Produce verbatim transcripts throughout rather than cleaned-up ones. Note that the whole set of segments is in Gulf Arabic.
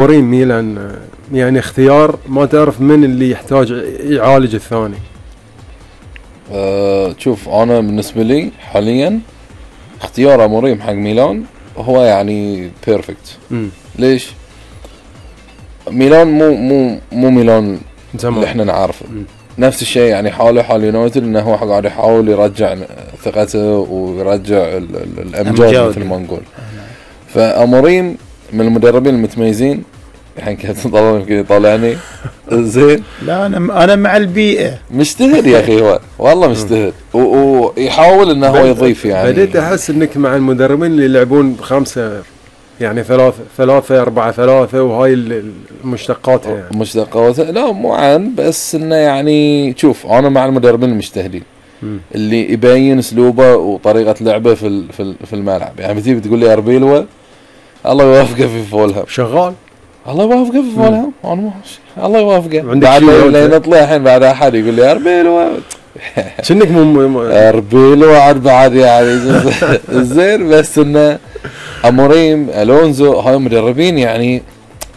اموريم ميلان يعني اختيار ما تعرف من اللي يحتاج يعالج الثاني. أه شوف انا بالنسبه لي حاليا اختيار اموريم حق ميلان هو يعني بيرفكت. ليش؟ ميلان مو مو مو ميلان زمان اللي احنا نعرفه. مم. نفس الشيء يعني حاله حال يونايتد انه هو قاعد يحاول يرجع ثقته ويرجع الامجاد مثل ما نقول. فاموريم من المدربين المتميزين الحين كنت طالعني طالعني زين. لا انا انا مع البيئه مجتهد يا اخي هو والله مجتهد ويحاول انه هو يضيف يعني. بديت احس انك مع المدربين اللي يلعبون بخمسه يعني ثلاثة ثلاثة أربعة ثلاثة وهاي المشتقات يعني. مشتقات لا مو عن بس انه يعني شوف انا مع المدربين المجتهدين اللي يبين اسلوبه وطريقه لعبه في في الملعب. يعني بتيجي بتقول لي اربيلوا الله يوفقه في فولهام شغال الله يوفقه في فولهام انا الله يوفقه بعد لا نطلع الحين بعد احد يقول لي اربيلوا شنك مو اربيلوا عاد بعد يعني زين. بس انه اموريم الونزو هاي مدربين يعني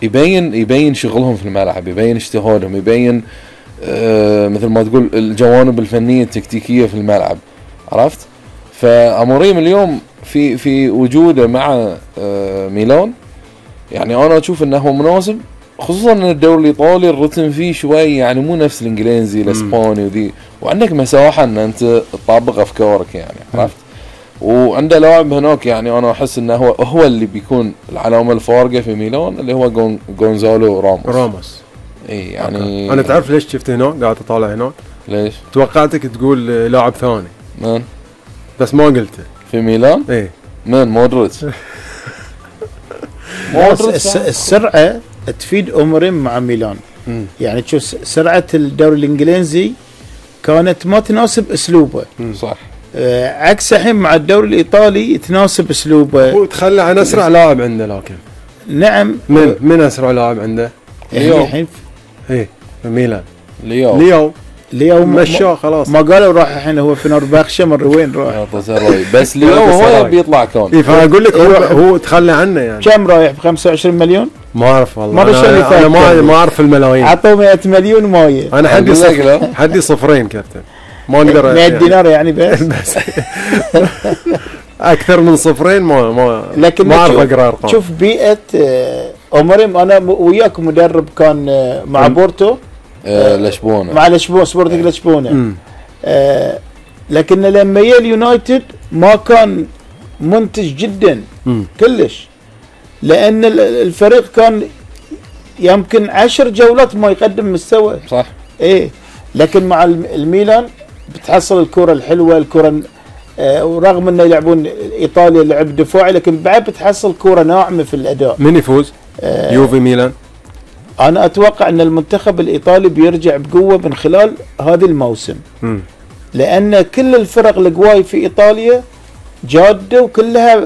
يبين يبين شغلهم في الملعب يبين اجتهادهم يبين آه مثل ما تقول الجوانب الفنيه التكتيكيه في الملعب عرفت. فاموريم اليوم في في وجوده مع آه ميلان يعني انا اشوف انه هو مناسب خصوصا ان الدوري الايطالي الرتم فيه شوي يعني مو نفس الانجليزي الاسباني وذي وعندك مساحه ان انت تطبق افكارك يعني عرفت. وعنده لاعب هناك يعني انا احس انه هو هو اللي بيكون العلامه الفارقه في ميلان اللي هو جون جونزالو راموس. راموس اي يعني انا تعرف ليش شفت هناك قاعد اطالع هناك ليش؟ توقعتك تقول لاعب ثاني من بس ما قلته في ميلان. ايه من مودريتش. مودريتش السرعه تفيد اموريم مع ميلان. م. يعني تشوف سرعه الدوري الانجليزي كانت ما تناسب اسلوبه. م. صح. آه عكس الحين مع الدوري الايطالي تناسب اسلوبه. هو تخلى عن اسرع لاعب عنده لكن. نعم. من من اسرع لاعب عنده؟ ليو. الحين ايه ميلان. ليو. ليو. ليو مشاه خلاص ما قالوا راح الحين هو في نورباخشة مر وين راح. بس ليو هو بيطلع كون. اي فاقول لك هو هو تخلى عنه يعني. كم رايح ب خمسة وعشرين مليون؟ ما اعرف والله. أنا, أنا ما ما اعرف الملايين. عطوه مئة مليون مايه. انا حدي صفر حدي صفرين كابتن. ما اقدر مئة دينار يعني بس. اكثر من صفرين ما ما لكن ما اعرف اقرا ارقام. شوف بيئه اموريم انا وياك مدرب كان مع بورتو آه لشبونه مع لشبونه سبورتنج لشبونه. آه لكن لما جاء اليونايتد ما كان منتج جدا م. كلش لان الفريق كان يمكن عشر جولات ما يقدم مستوى. صح. ايه لكن مع الميلان بتحصل الكرة الحلوة الكرة آه ورغم انه يلعبون ايطاليا لعب دفاعي لكن بعد بتحصل كرة ناعمة في الاداء. من يفوز؟ آه يوفي ميلان؟ انا اتوقع ان المنتخب الايطالي بيرجع بقوة من خلال هذا الموسم. م. لان كل الفرق القواي في ايطاليا جادة وكلها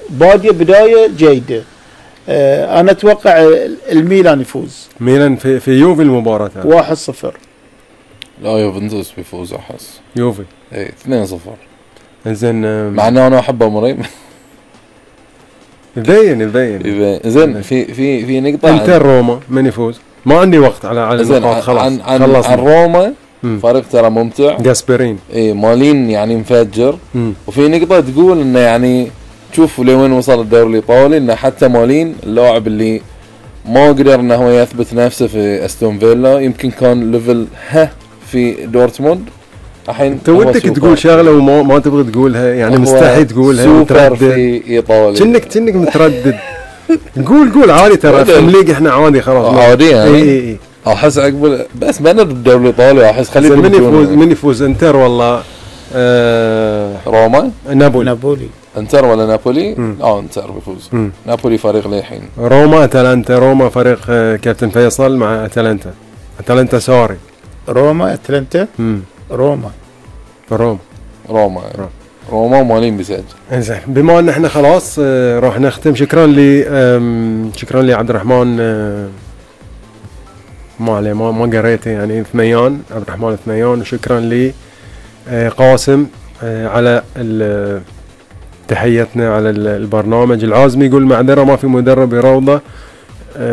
بادية بداية جيدة. آه انا اتوقع الميلان يفوز. ميلان في في يوفي المباراة واحد صفر. لا يوفنتوس بيفوز احس. يوفي اي اثنين صفر. زين مع انه انا احب اموريم. يبين يبين زين في في في نقطة انتر روما من يفوز؟ ما عندي وقت على على النقاط خلاص. عن عن, عن روما فريق ترى ممتع. جاسبرين اي مالين يعني مفجر. م. وفي نقطة تقول انه يعني تشوف لوين وصل الدوري الايطالي انه حتى مالين اللاعب اللي ما قدر انه هو يثبت نفسه في استون فيلا يمكن كان ليفل ها في دورتموند الحين. انت ودك تقول شغله وما ما تبغى تقولها يعني مستحي تقولها سوبر في ايطاليا. كأنك كأنك متردد. قول قول عادي ترى في الليج احنا عادي خلاص عادي يعني. اي اي اي احس عقب بس بين الدوري الايطالي احس خليه من يفوز من يفوز انتر والله آه روما نابولي نابولي انتر ولا نابولي؟ اه انتر بيفوز. مم. نابولي فريق للحين. روما اتلانتا روما فريق آه كابتن فيصل مع اتلانتا. اتلانتا سوري روما اتلانتا روما روما روما روما, روما مالين بيسجل. انزين بما ان احنا خلاص آه راح نختم. شكرا لي شكرا لي عبد الرحمن آه ما عليه ما ما قريته يعني ثنيان عبد الرحمن ثنيان. وشكرا لي آه قاسم آه على تحيتنا على البرنامج. العازمي يقول معذرة ما في مدرب يروضه آه